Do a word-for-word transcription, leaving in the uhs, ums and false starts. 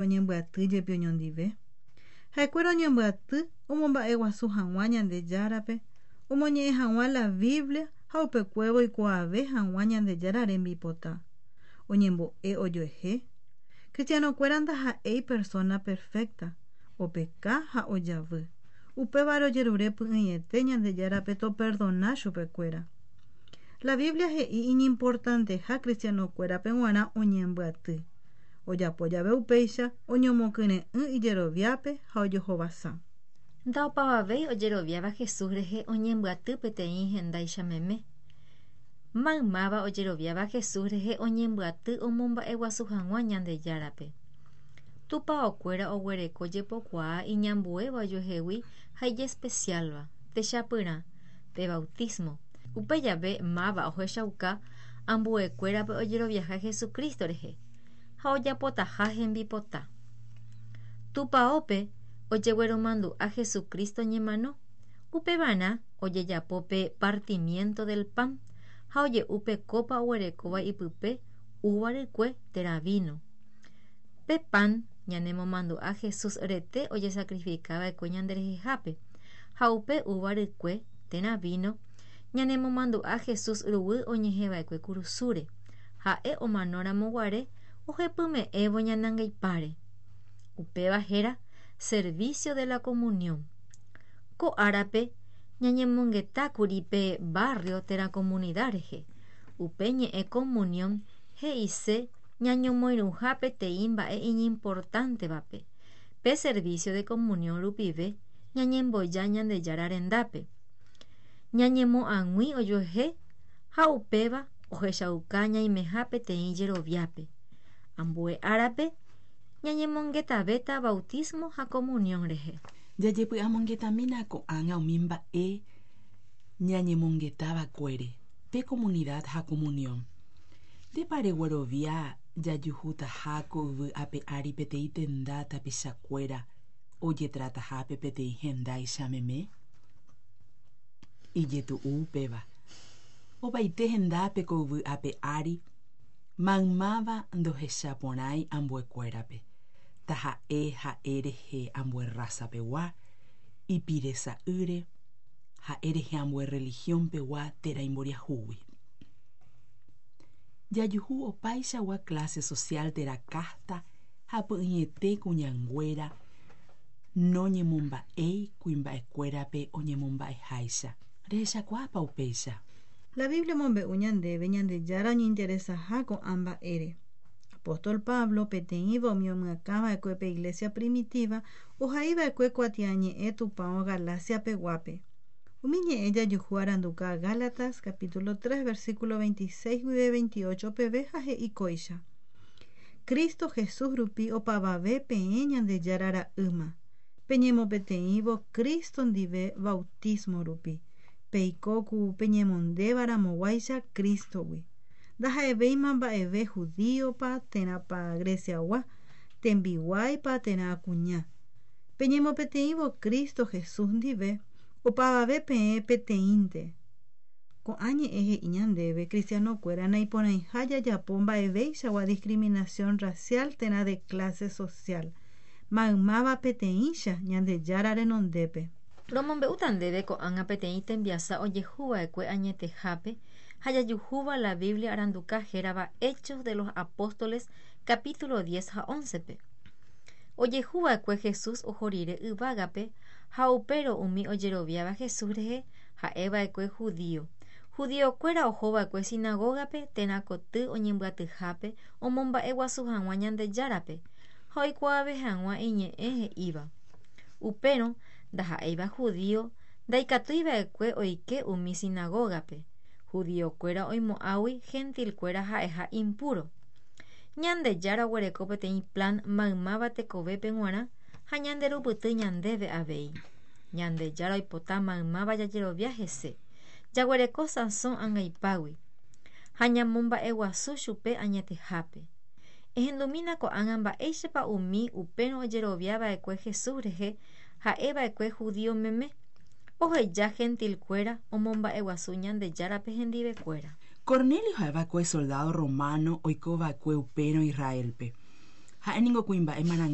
Oñembyaty jepi oñondive. Ha'ekuéra oñembyaty omomba'eguasu hag̃ua Ñandejárape, omoñe'ẽ hag̃ua la Biblia ha upekuévo oikuaave hag̃ua Ñandejára rembipota. Oñembo'e ojoehe. Cristianokuéra ndaha'éi persona perfecta, opeka ha ojavy. Upévare ojerure py'ỹiete Ñandejárape toperdona chupekuéra. La Biblia he'i iñimportanteha cristianokuérape g̃uarã oñembyaty. Ojapo jave upéicha oñomokyre'ỹ ijeroviápe ha ojohovasa. Ndaopavavéi ojeroviáva Jesús rehe oñembyaty peteĩ hendáicha meme. Maymáva ojeroviáva Jesús rehe oñembyaty omomba'eguasu hag̃ua Ñandejárape. Tupãokuéra oguereko jepokuaa iñambuéva ojuehegui ha ijespecialva, techapyrã, pe bautismo. Upe jave máva ohechauka ambuekuérape ojeroviaha Jesucristo rehe ha ojapotaha hembipota. Tupãópe ojegueromandu'a Jesucristo ñemano, upevarã ojejapo pe partimiento del pan ha oje'u pe copa oguerekóva ipype uva rykue térã vino. Pe pan ñanemomandu'a Jesús rete ojesacrificava'ekue ñanderehehápe ha upe uva rykue térã vino ñanemomandu'a Jesús ruguy oñehẽva'ekue kurusúre ha'e omanóramo guare ohepyme'ẽvo ñanangaipáre. Upéva héra servicio de la comunión. Ko árape ñañemongetákuri pe barrio térã comunidad rehe. Upe ñe'ẽ comunión he'ise ñañomoirũha peteĩ mba'e iñimportantevape. Pe servicio de comunión rupive ñañemboja Ñandejára rendápe. Ñañemo'ag̃ui ojuehe ha upéva ohechauka ñaimeha peteĩ jeroviápe. Ambue árape ñañemongetavéta bautismo ha comunión rehe. Jajepy'amongetamína ko'ág̃a umi mba'e ñañemongetava'ekuére pe comunidad ha comunión. Ndépa reguerovia jajuhutaha ko yvy ape ári peteĩ tenda tapichakuéra ojetratahápe peteĩ hendáicha meme? Ijetu'u upéva. Opaite hendápe ko yvy ape ári maymáva ndohechaporãi ambuekuérape. Taha'e ha'e rehe ambue raza-pegua, ipiresa'ýre, ha'e rehe ambue religión-pegua térã imboriahúgui. Jajuhu opaichagua clase social térã casta ha py'ỹiete kuñanguéra noñemomba'éi kuimba'ekuérape oñemomba'eháicha. Rehechakuaápa upéicha? La Biblia omombe'u ñandéve Ñandejára oñeinteresaha ko'ã mba'ére. Apóstol Pablo peteĩva umi omyakãva'ekue pe iglesia primitiva ohaiva'ekue kuatiañe'ẽ Tupão Galacia-peguápe. Umi ñe'ẽ jajuhu aranduka Gálatas capítulo tres versículo veintiséis guive veintiocho peve ha he'i kóicha. Cristo Jesús rupi opavave peẽ Ñandejára ra'ýma. Peñemopeteĩvo Cristo ndive bautismo rupi. Peiko ku peñemondévaramoguáicha Cristogui. Ndaha'evéima mba'eve judíopa térãpa Greciagua, tembiguáipa térã kuña. Peñemopeteĩvo Cristo Jesús ndive, opavave peẽ peteĩnte. Ko'ã ñe'ẽ he'i ñandéve cristianokuéra naiporãiha jajapo mba'evéichagua discriminación racial térã de clase social. Maymáva peteĩcha Ñandejára renondépe. Romombe'úta ndéve ko'ág̃a peteĩ tembiasa ojehuva'ekue añetehápe ha jajuhúva la Biblia aranduka hérava Hechos de los Apóstoles capítulo diez ha once-pe. Ojehuva'ekue Jesús oho rire yvágape ha upérõ umi ojeroviáva Jesús rehe ha'eva'ekue judío. Judiokuéra ohova'ekue sinagogape térã koty oñembyatyhápe omomba'eguasu hag̃ua Ñandejárape ha oikuaave hag̃ua iñe'ẽ he'íva. Upérõ ndaha'éiva judío ndaikatuiva'ekue oike umi sinagogape. Judiokuéra oimo'ãgui gentilkuéra ha'eha impuro. Ñandejára oguereko peteĩ plan maymáva tekovépe g̃uarã ha ñanderupyty ñandéve avei. Ñandejára oipota maymáva jajerovia hese. Jaguereko sãso angaipágui ha ñamomba'eguasu chupe añetehápe. Ehendumína ko'ág̃a mba'éichapa umi upérõ ojeroviava'ekue Jesús rehe ha'eva'ekue judío meme. Oheja gentilkuéra omomba'eguasu Ñandejárape hendivekuéra. Cornelio ha'eva'ekue soldado romano oikova'ekue upérõ Israelpe. Ha'éniko kuimba'e marangatu.